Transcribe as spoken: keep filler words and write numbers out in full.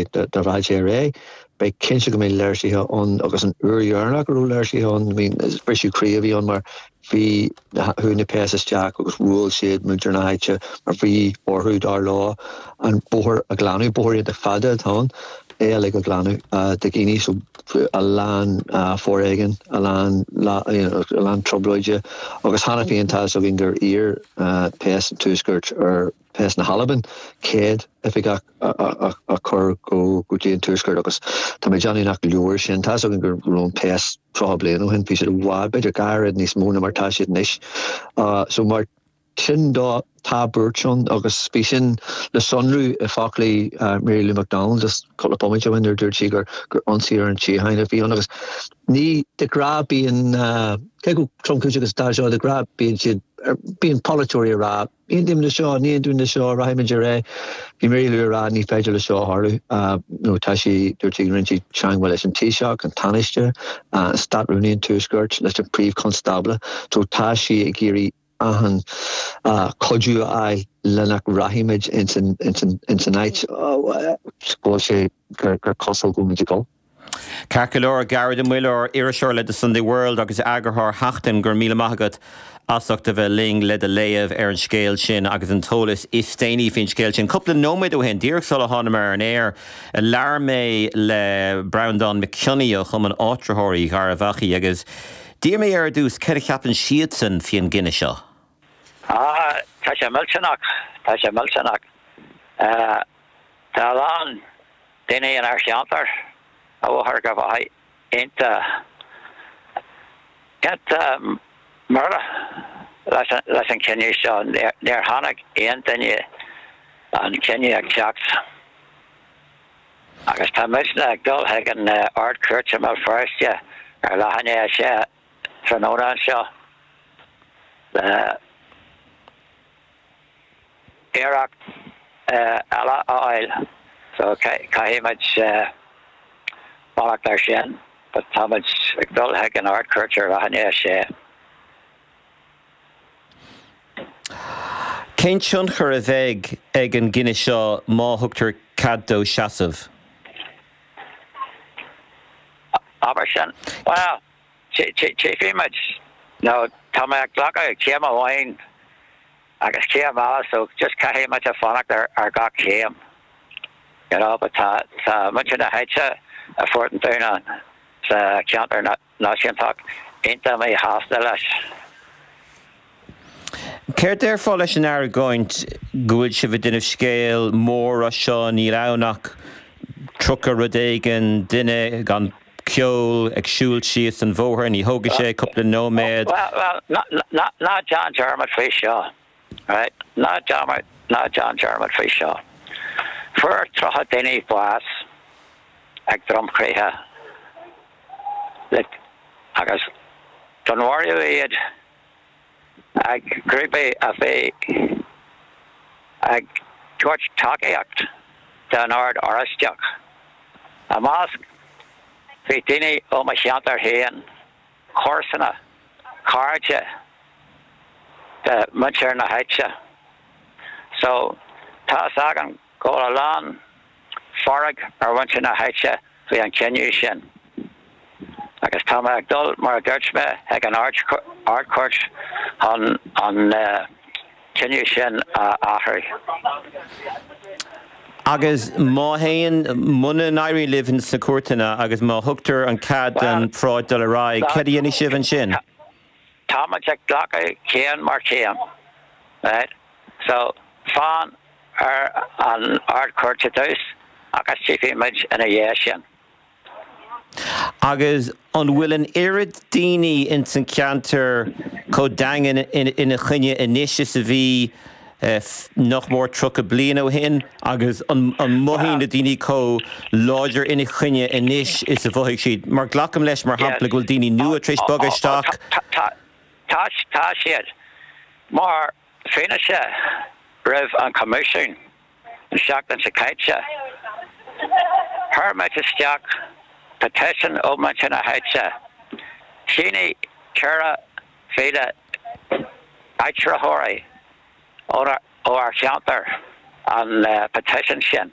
Dá rachadh sé ar aghaidh, beidh cinnte go mbeidh léirsithe ann agus an uair dheireanach go raibh léirsithe ann, I mean, is briseadh croí a bhí ann mar bhí chuaigh na péas isteach agus bhuail siad muintir na háite mar bhí orthu dar leo an bóthar a ghlanadh, bóthar iontach fada atá ann, é uilig a ghlanadh de dhaoine so a lán foréigin, a lán a lán trioblóide agus cheana féin tá fhios againn gur iarr péas an Tuaiscirt ar péas na hAlban céad oifigeach a chur go dtí an Tuaisceart agus tá mé ag déanamh nach leor sin. Tá fhios againn go raibh an péas tríocha bliain ó shin, bhí siad i bhfad, b'fhéidir dhá oiread níos mó ná mar tá siad anois. So mar sin de tá buairt ann agus bhí sin le sonrú i bhfoclaí Mary Lou McDonald just cúpla bomaite ó shin nuair a dúirt sí gur gur ionsaí ar an tsíocháin a bhí ann agus ní de ghnáth bíonn cé chomh tromchúiseach agus atá seo de ghnáth bíonn siad bíonn polaiteoirí ag rá ní aontaím le seo, ní aontaím le seo, rachaimid ar aghaidh. Bhí Mary Lou ag rá ní féidir le seo a tharlú nó tá sí dúirt sí go rinne sí teagmháil leis an Taoiseach, an Tánaiste, an Stát-Rúnaí an Tuaiscirt, leis an Príomh-Chonstábla so tá sí ag iarraidh achan cuidiú a fháil le nach rachaimid ins an áit go bhfuil sé gur cosúil go bhfuil muid ag dul. Ceart go leor, Gearóid Ó Muilleoir, iriseoir le The Sunday World agus eagarthóir Sheachtain, go raibh míle maith agat as ucht a bheith linn le do léamh ar an scéal sin agus an t-eolas is déanaí faoin scéal sin. Cúpla nóiméad ó shin, díreach sula thánamar ar an aer, labhair mé le Breandán Mac Cionnaith ó Chumann Áitritheoirí Gharbh Achaidh agus d'iarr mé air ar dtús céard a cheapann siadsan faoin gcinneadh seo. Ah, tá sé millteanach, tá sé millteanach. Tá a lán daoine inár cheantar ó Gharbh Achaidh iontach iontach buartha leis an leis an cinneadh seo. Níor tháinig aon duine an cinneadh ag teacht. Agus tá muidne ag dul chuig an Ard-Chúirt i mBéal Feirste ar leath i ndiaidh a sé tráthnóna anseo le iarracht eile a fháil. So caithfidh muid fanacht air sin, but tá muid ag dul chuig an Ard-Chúirt ar leath i ndiaidh a sé. Cén tionchar a bheidh ag an gcinneadh seo má thugtar cead dó seasamh? Abair sin. Bhuel, tchífidh muid. Nó tá mé ag glacadh céim amháin agus céim eile so just caithfidh muid a fanacht ar gach céim. You know, but tá tá muintir na háite i Phort an Dúnáin sa cheantar náisiúntach iontach míshásta leis. Céard déarfá leis an argóint go bhfuil sibh ag déanamh scéal mór as seo, níl ann ach tríocha rud éigin duine gan ceol ag siúl síos an bhóthar, ní thógfaidh sé cúpla nóiméad. Bhuel, bhuel, ná déan dearmad faoi seo, right? Ná dearmad, ná déan dearmad faoi seo. Fuair tríocha daoine bás ag dromchroíthe le agus dúnmharaíodh iad. ag grúpaí a bhí ag tabhairt tacaíocht don Ord Oráisteach. I measc bhí daoine ó mo cheantar féin, comharsana, cairde de mhuintir na háite. So, tá fhios agam go bhfuil a lán fearg ar mhuintir na háite faoi an chinneadh sin agus tá mé ag dul, mar a dúirt mé, ag an Ard-Chúirt chun an cinneadh sin a athrú. Agus má théann, muna n-éiríonn libh sna cúirteanna agus má thugtar an cead don pharáid dul ar aghaidh, céard a dhéanfaidh sibh ansin? Táimid ag glacadh céim mar chéim, right? So, fan ar an Ard-Chúirt i dtús agus tchífidh muid ina dhiaidh sin. Agus an bhfuil an oiread daoine ins an cheantar chomh daingean ina choinne anois is a bhí nach mór tríocha bliain ó shin? Agus an mothaíonn na daoine chomh láidir ina choinne anois is a mhothaigh siad? Mar glacaim leis, mar shampla, go bhfuil daoine nua tar éis bogadh isteach. Tá siad. Mar fianaise roimh an Choimisiún an seachtain seo caite, chuir muid isteach petition ó mhuintir na háite. Shínigh ceithre mhíle áitritheoirí ó ár cheantar an petition sin.